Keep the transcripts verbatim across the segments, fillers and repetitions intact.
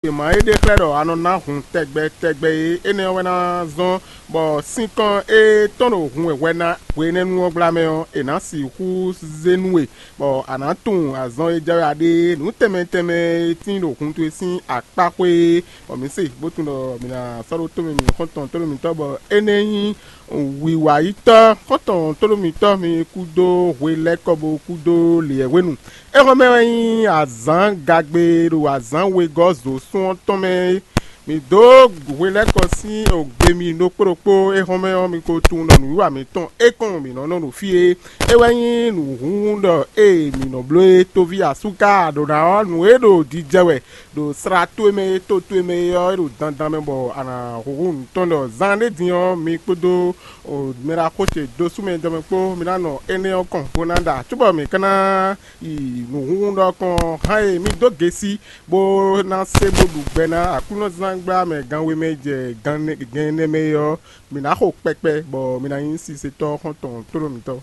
È ma é ɖe xlɛ́ ɖɔ a nɔ ná hun tɛgbɛ tɛgbɛ é, énɛ́ ɔ́ wɛ ná zɔ́n bɔ sinkɔn e tɔn ɖo hun wɛ hwɛ ná hwenɛ́nu ɔ́ gbla mɛ ɔ́, è nǎ sixú zé nú we, bɔ a nǎ tunwun azɔn e jɛ wɛ a ɖe é. Nǔ tɛnmɛ tɛnmɛ e tín ɖo hun towe sín akpá xwé é, bɔ mǐ se bó tunwun ɖɔ mǐ ná sɔ́ ɖó tómɛ mǐ xɔ́ntɔn tónú mǐtɔn, bɔ énɛ́ nyí wiwayítɔ́ xɔ́ntɔn tónú mǐtɔn mi kúdó hwe lɛ́kɔ bó kúdó lǐɛ́hwenu. Éhɔ́mɛ wɛ nyí azǎn gagbe ɖo azǎn wegɔ́ zǒsún ɔ́ tɔn mɛ é. Mǐ dó hwelɛ́kɔ sín ogbe mi ɖokpó ɖokpó. Éhɔ́mɛ ɔ́, mi ko tunwun ɖɔ nǔwiwa mǐtɔn é kɔn mǐ nɔ nɔ ɖo fí é. É wɛ nyí nǔhúnhún ɖɔ ée mǐ nɔ bló é. Toví asúká aɖǒ ná ɔ́, nǔ e ɖo jijɛ wɛ ɖo sla towe mɛ é, to towe mɛ é ɔ́, é ɖo dandan mɛ bɔ a nǎ húhú nǔ tɔn ɖɔ zan ɖé din ɔ́, mi kpódó mɛ ɖaxó ce dó sú mɛ jɔmɛ kpó, mi ná nɔ énɛ́ ɔ́ kɔn bó ná ɖa cóbɔ mǐ ka ná yi nǔhúnhún ɖɔkɔn hán e mì dó gesi bó ná se bó ɖu gbɛ ná Aklúnɔzángbla mɛ gan we mɛ jɛ gan ɛnɛ mɛ é ɔ́, mǐ ná xo kpɛkpɛ, bɔ mi ná nyí sisetɔ́ xɔ́ntɔn tlóló mǐtɔn.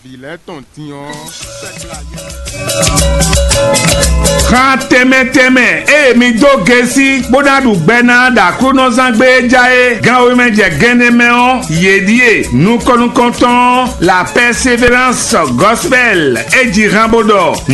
Vǐ lɛ́ɛ tɔn din ɔ́. Xan tɛnmɛ tɛnmɛ ée mi dó gesi bó ná ɖu gbɛ ná ɖo Aklúnɔzán gbé é já é, gan wemɛ jɛ gɛnɛ mɛ ɔ́, yě ɖíe nukɔn nukɔntɔn La Persévérance Gospel é ji hán bó ɖɔ: